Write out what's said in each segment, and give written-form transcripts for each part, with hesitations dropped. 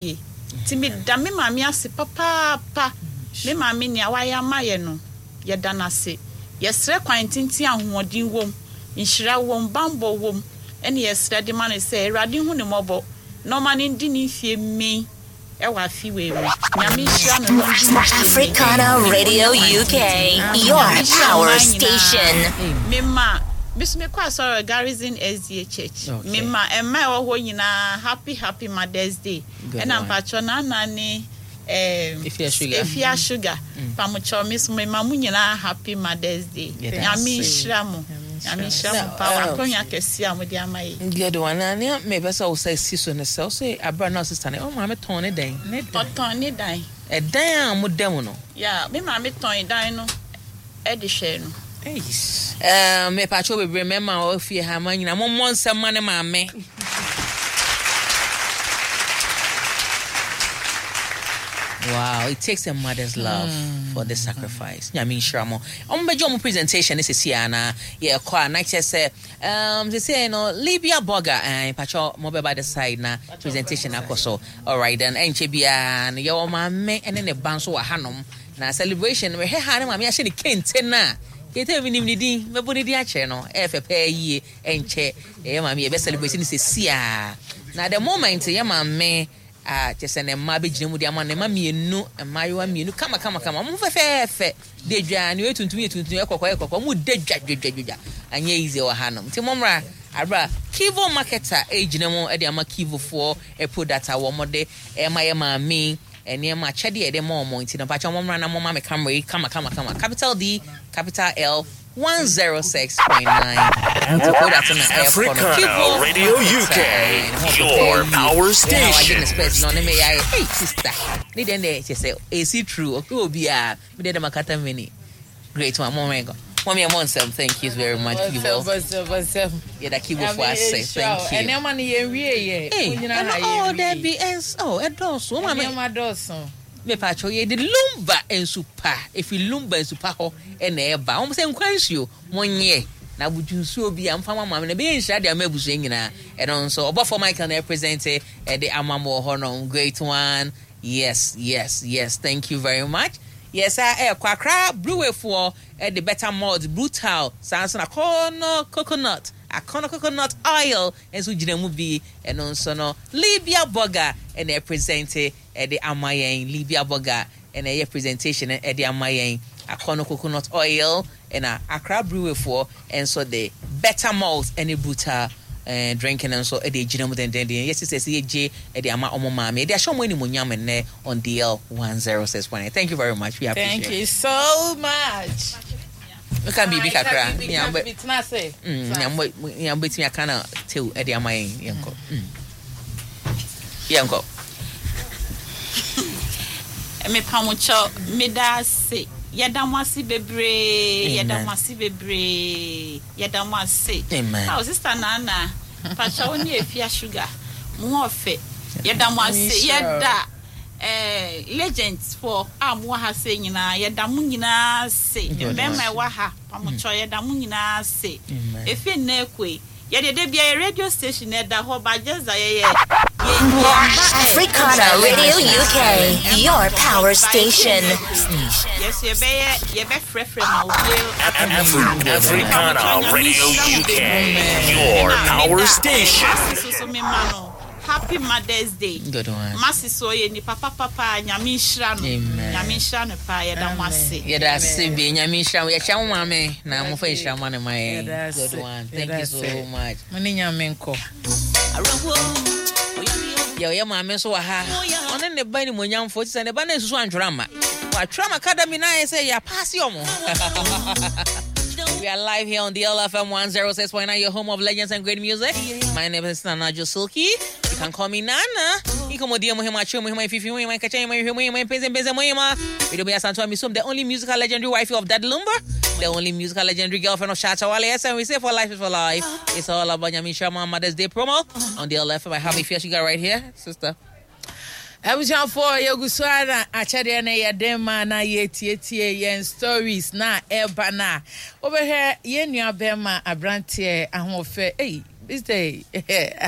Yie. Nti meda me maame ase papaapa. Me maame nea wayɛ ama yɛ no, yɛda no ase. Yɛsrɛ kwan tenten a ahoɔden wom, nhyira wom, bammɔ wom ɛne yɛsrɛ de ma no sɛ Awurade nhu no mmɔbɔ na ɔma no ndi ne mfie mmɛn wɔ afe wei mu. Nyame nhyira no na ɔndi ne mfie mmɛn. Africana Radio UK, your Nyame nhyira power mmaa station. nyinaa. Mema, me nso mekɔ asɔre wɔ Garrison SDA Church. Mema mmaa a ɛwɔ hɔ nyinaa happy happy Mother's Day. Ɛna mpakyɛw Nana ne ehm Efia Sugar pamokyɛw me so mema mo nyinaa happy Mother's Day. Nyame nhyira mo. Nyame nhyira mo paa wɔ akwanya kɛseɛ a mode ama yɛ. Good one. Na nea mepɛ sɛ wo sɛ si so ne sɛ wo sɛ abere a na wo sister no wo maame tɔn ne dan. Ɔtɔn ne dan. Ɛdan a mo da mu no. Yeah, me maame tɔn dan no. de hwɛɛ no. Eish eh mepakyɛw bebree mɛma a ɔwɔ fie ha ma nyina mommɔ nsɛm ma ne maame. Wow, it takes a mother's love mm. for this sacrifice. Nyame nhyira mo. Ɔmo bɛgye ɔmo presentation ne sisi a na yɛkɔ a na kyerɛ sɛ um sisi no Libya burger eh pakyɛ mo bɛba the side na presentation akɔ so. Alright then ɛnkyɛ biara no yɛwɔ maame ne ne ba nso wɔ hanom. Na celebration no mehwɛ ha ne maame ahyɛ ne kente no a kente no menim ne din mɛbɔ ne din akyerɛ no ɛyɛ fɛ paa yie ɛnkyɛ yɛ maame yɛbɛ celebrate no sɛsi a na the moment yɛ maame a kyɛ sɛ ne mma bɛgyina mu de ama ne mma mmienu mmaayewa mmienu kama kama kama wɔn ho fɛfɛɛfɛ de dwa ne yɛ tuntum yɛ tuntum yɛ kɔkɔɔ yɛ kɔkɔɔ wɔn da dwa dwa dwa dwa anyɛ easy wɔ ha nom nti mo mmra abira Kivo marketer ɛgyina mu de ama Kivofoɔ product a wɔn de ɛma yɛ maame Nneɛma, akyɛdeɛ a yɛde ma wɔn nti no, mpakyɛw mommra na momma me camera yi kama kama kama, capital D, capital L, 106.9. Nti product no na ɛrekɔ no. Africana Kivo Radio market, UK, eh, ne ho your ɔfɛ power yie. Ɛna wagye ne station. specs na ɔne me yɛ ayɛ, hey sister, ne deɛ ne kyɛ sɛ ɛsi true, ɔpɛ obiara, me deɛ de makata m'ani. Great one, mo mmɛn kɔ. Mommy, I'm on some. Thank you very much, Kibo. Yeah, the Kibo for us. Thank you. Nneɛma no yɛn wie yɛ. Hey, ɛno oh Debbie, ɛns oh ɛdɔɔso. Wɔn Nneɛma dɔɔso. Mepatro yɛ de lumba nsu pa efi lumba nsu pa hɔ ɛna ɛba. Wɔn sɛ nkwa nsuo mo nyɛ na abutu nsuo bi a nfa ma maame na ɛbɛyɛ nhyira de ama abusua nyinaa. Ɛno nso ɔbɔfo Michael na ɛpresente ɛde ama mo wɔ hɔ nom. Great one. Yes yes yes thank you very much. Yɛ saa ɛɛkɔ Accra brewery foɔ de better malt brutal saa nso na akɔnɔ coconut akɔnɔ coconut oil nso gyina mu bi ɛno nso no Libya burger ɛna ɛpresente ɛde ama yɛn Libya burger ɛna ɛyɛ presentation ɛde ama yɛn akɔnɔ coconut oil ɛna Accra brewery foɔ nso de better malt ɛne brutal eh, drink no nso de agyina mu dendenden. Yɛ sisters yi agye de ama wɔn maame. Yɛde ahyɛ wɔn animuonyam nnɛ on DL 106.9. Thank you very much. We appreciate. Thank you so much. Meka biribi kakra. Nea mobɛtumi aka na tew de ama yɛn yɛnkɔ. Yɛnkɔ. Mepa mo kyɛw, meda ase. Yɛda mo ase bebree. Yɛda mo ase bebree. Yɛda mo ase. Amen. Aw sister Nana, mpakyɛ wo ne Afia Sugar, mo ho ɔfɛ. Yɛda mo ase. Yɛda eh, legends foɔ a mo wɔ ha sei nyinaa, yɛda mo nyinaa ase. Mmarima ɛwɔ ha, pamokyɛw yɛda mo nyinaa ase. Efi nnɛ ekoe. Yɛdeɛ da biara yɛ radio station no ɛda hɔ but just that yɛyɛ yɛ yɛmba ɛ. Africana Radio UK, your power station. Yɛ so yɛbɛyɛ yɛbɛfrɛfrɛ ma obi Africana Radio UK, your power station. Masi so so mema no happy mother's day. Good one. Masi so ɔyɛ nipa papa paa nyame nhyira no. Amen. Nyame nhyira no paa yɛda mo ase. Yɛda ase bi nyame nhyira mo yɛkyia mo maame na mofa nhyira ma ne ma yɛn. Yɛda ase. Good one. Thank you Yɛda so ase. much. Mo ne nyame nkɔ. Yɛ ɔyɛ maame nso wɔ ha. Ɔne ne ba animuonyamfoɔ ti sɛ ne ba no nsusu antwerɛ amma. Watwerɛ ama academy na ayɛ sɛ yɛapaase ɔmo. We are live here on DLFM 106.9, your home of legends and great music. My name is Nana Josilki. You can call me Nana. Nkomodie muhima chwe muhima ififi muhima ikacha muhima ife muhima mpeze mpeze muhima. Video ya Santua Misum, the only musical legendary wifey of Dad Lumber, the only musical legendary girlfriend of Shatta Wale. Yes, and we say for life is for life. It's all about Nyame Nhyira Mother's Day promo on DLFM. I have Ifia Sugar right here, sister. Abusuafoɔ yɛgu so ara na akyɛdeɛ no yɛ den ma na yɛtietie yɛn stories na ɛreba no a wobɛhwɛ yɛn nua bɛrima aberanteɛ ahoɔfɛ ei. Mr.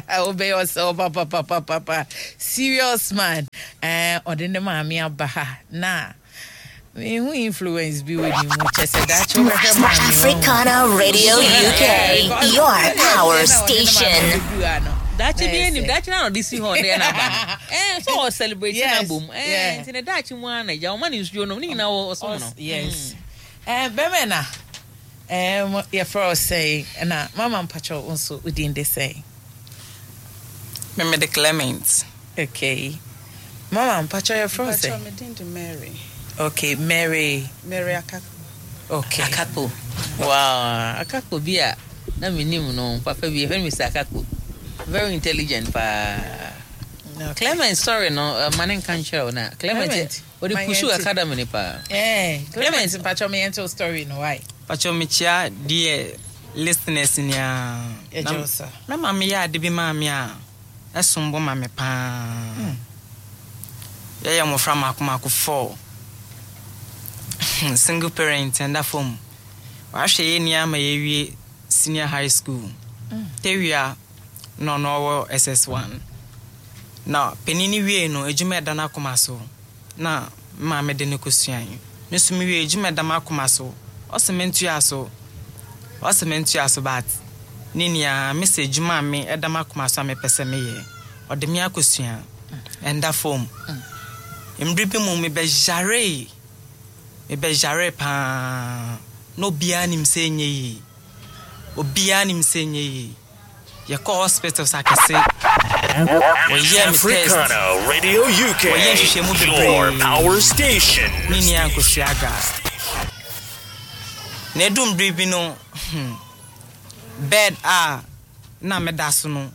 Wobɛyɛ ɔsɛ wo papapapapa. Serious man. Eh, ɔde ne maame aba ha na mehu influence bi wɔ ne mu kyɛ sɛ daakye wobɛhwɛ maame. Africana Radio UK, your power station. Daakye bi anim, daakye na ɔde si hɔ ɔde na aba no. Eh, so ɔ celebrate na bom. Eh, nti ne daakye mu ara na agya ɔma ne nsuo nom ne nyinaa wɔ ɔsom no. Yes. Eh, bɛmɛ na eh, yɛfrɛ wo sɛn na mama mpakyɛw wo nso wo din de sɛn? Me mede Clement. Okay. Mama mpakyɛw yɛfrɛ wo sɛn? Mpakyɛw me din de Mary. Okay, Mary. Mary Akakpo. Okay. Akakpo. Wow, Akakpo bi a na menim no papa bi yɛfrɛ no Mr. Akakpo. Very intelligent paa. Okay. Clement story no uh, ma ne nka nkyerɛ wo na Clement ɔde pusu academy ni paa. Eh, Clement mpakyɛw me yɛnte wo story no why? Pakyɛw mekyia deɛ listeners nyinaa. Yɛgye wo so. Me maame yɛ ade bi maa me a ɛsom bo ma me paa. Yɛyɛ mmɔfra mmaako mmaako four. Single parent ɛnda fam. Wahwɛ yɛn ni ama yɛawie senior high school. Tawia na ɔno ɔwɔ SS1. Na panin no wiei no, adwuma a ɛda n'akoma so na me maame de no kɔsuae. Me nso mewiei adwuma a ɛda m'akoma so, ɔse mentoa so, ɔse mentoa so but ne nua me sɛ adwuma a me ɛda m'akoma so a mepɛ sɛ meyɛ, ɔde me akɔsua. Ɛnda fam. Mmere bi mu mebɛyaree, mebɛyaree paa na obiara nim sɛ ɛnyɛ yie. Obiara nim sɛ ɛnyɛ yie. Yɛkɔɔ hospitals akɛse, wɔyɛɛ me test, Africana Radio UK, wɔyɛɛ nhwehwɛmu your bebree, power station. ne nea ankosua aga. Na edu mmere bi no, hmm, bed a na meda so no,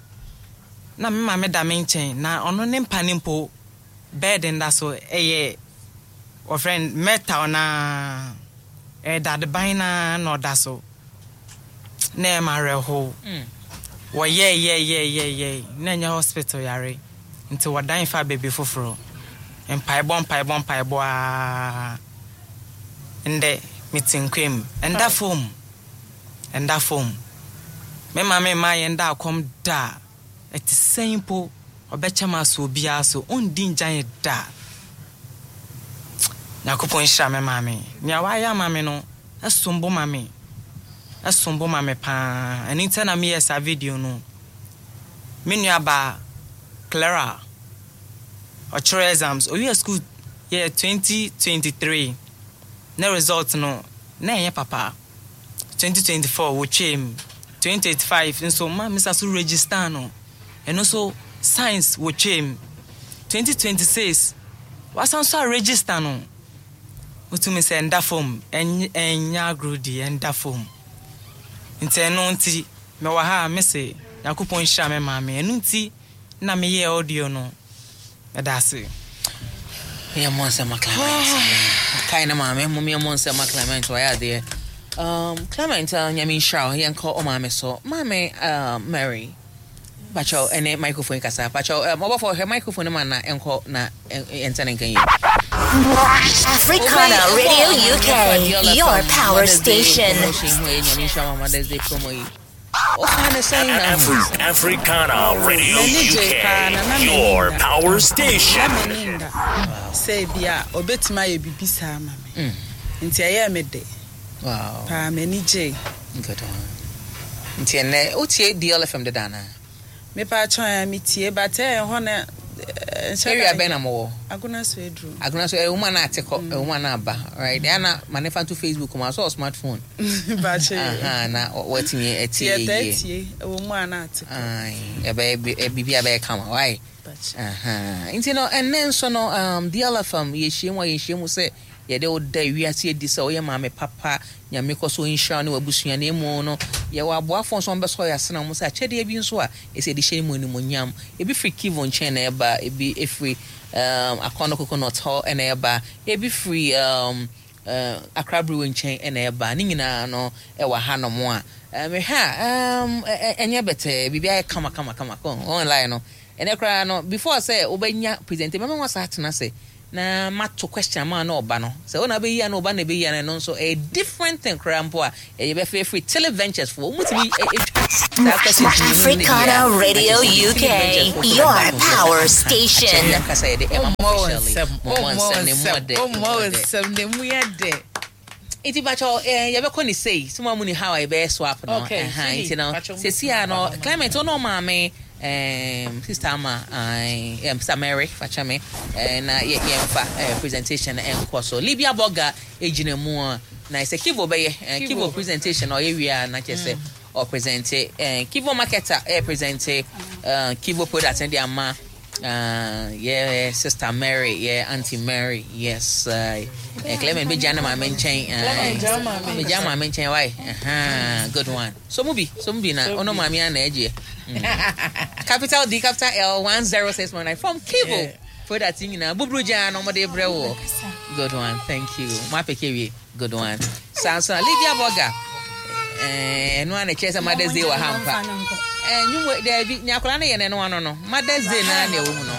na me maame da me nkyɛn, na ɔno ne mpa no mpo, bed nda so, ɛyɛ wɔfrɛ no metal na ɛyɛ dadeban na na ɔda so. Na ɛyɛ me awerɛhow. Wɔyɛɛyɛɛyɛɛyɛe na ɛnyɛ hospital yare nti wɔdan faa baabi foforo. Mpaebɔ mpaebɔ mpaebɔ ara. Ndɛ mete nkwa mu. Ɛnda fam. Ɛnda fam. Me maame mmaa yɛn da akɔm da. Ɛte sɛn mpo, ɔbɛkyɛ m'aso obiara so, ɔndi ngya yɛn da. Nyankopɔn nhyira me maame. Nea wayɛ ama me no, ɛsom bo ma me. Ɛsom bo ma me paa. Ɛno nti na meyɛɛ saa video no. Me nuabaa, Clara, ɔkyerɛw exams. Owiee school yɛ 2023. Ne result no, na ɛnyɛ papa. 2024 wotwaam. 2025 nso ma mesa so register no. Ɛno nso science wotwaam. 2026 wasan so a register no. Wotumi sɛ ɛnda fam, ɛnyɛ agorɔ di, ɛnda fam. Nti ɛno nti mewɔ ha a mese Nyankopɔn nhyira me maame. Ɛno nti na meyɛɛ audio no. Meda ase. Yɛmmɔ nsɛm ma Clement. Kae ne maame, mom yɛmmɔ nsɛm ma Clement, wayɛ adeɛ. Clement, Nyame nhyira wo, yɛnkɔ ɔmaame so. Maame Mary, pakyɛw ɛne microphone kasa. Pakyɛw, ɔbɔfo hwɛ microphone no ma na ɛnkɔ na ɛntɛ ne nka yie. Africana Radio UK, your power station. Promotion ho yɛ Nyame nhyira ma Mother's Day promo yi. Ɔka ne sɛn na ho. Africana Radio M'ani gyee paa na na UK, m'ani your nna. power station. Na m'ani nda sɛ ebi a obetumi ayɛ biribi saa ama me. Nti ɛyɛɛ me dɛ Wow. paa, m'ani gyee. Good one. Nti ɛnɛ wotie DLFM deda anaa? Mepa kyɛw a metie but ɛyɛ hɔ na nhyɛ Area da bɛn na mowɔ? Agona so aduru. Agona so ɛwɔ mu a na ate kɔ, ɛwɔ mu a na aba. Right? Ɛyɛ na ma ne fa nto Facebook mu a so smartphone. Bakyɛ. Aha na watumi atie Tie yie. tie ɛwɔ mu a na ate kɔ. Aye, ɛbɛyɛ biribi a ɛbɛyɛ kama. Why? Aha. Nti no ɛnnɛ nso no DLFM yɛhyia mu a yɛhyia mu sɛ yɛde wo da wiase adi sɛ woyɛ maame papa, Nyame kɔ so nhyira wo ne w'abusua na emu no yɛwɔ aboafoɔ nso a wɔbɛsɔ yɛn asene wɔn sɛ akyɛdeɛ bi nso a ɛsɛ yɛde hyɛ ne mu animuonyam. Ebi firi Kivu nkyɛn na ɛba, ebi firi Akɔnɔ Coconut hɔ na ɛba, ebi firi Accra Brewery nkyɛn na ɛba. Ne nyinaa no ɛwɔ hanom a mehwɛ a ɛnyɛ bɛtɛɛ, biribi ayɛ kama kama kama. Online no ɛnɛ koraa no before sɛ wobɛnya presentation mɛma wɔn asa atena ase. Na mato question ama na ɔba no. Sɛ wo na wobɛyi a na ɔba na ɛbɛyi a no ɛno nso ɛyɛ different thing koraa mpo a ɛyɛ bɛfɛ firi Tele Ventures foɔ. Wɔn tumi ɛtwa saa questions mmienu no ne Africana deɛ a Radio na kyerɛ sɛ UK, Tele Ventures foɔ your ba no power akyɛ station. bi ankasa yɛde ɛma mo Ɔmmɔ wo officially. nsɛm, Mo mmɔ ɔmmɔ wo nsɛm ne mu nsɛm, ɔdɛ, mu ɔmmɔ wo ɔdɛ. nsɛm, ne mu yɛ dɛ. Nti pakyɛ eh, yɛbɛkɔ ne sei so mo mu ni how a yɛbɛyɛ swap no. Okay, Ɛha, sweetie, nti no pakyɛ mo sɛsi a no Clement ɔno ɔmaame sister ama sister Mary fakyɛ me eh, na yɛ yɛmfa eh, presentation no ɛnkɔ so. Libya Burger egyina mu a na sɛ Kivo bɛyɛ eh, Kivo presentation na ɔyɛ wie a na kyerɛ sɛ ɔpresente eh, Kivo marketer eh, presente eh, Kivo product no de ama yɛ sister Mary, yɛ auntie Mary, yes. Clement bɛgya ne maame nkyɛn. Bɛgya maame nkyɛn, why? Uh-huh, good one. So mu bi, so mu bi na ɔno maame ana agyeɛ. Capital D, capital L, 106.9 from Kivo. Yeah. Product nyinaa buburu gyaa no wɔde brɛ wɔ. Good one, thank you. Mo apɛkɛ wie. Good one. Saa nso na Lydia Burger. Ɛno a na ɛkyerɛ sɛ Mother's Day wɔ ha mpa. Nnwom daabi, nea akwadaa no yɛ no ɛno ano no. Mother's Day naa na ɛwɔ mu no.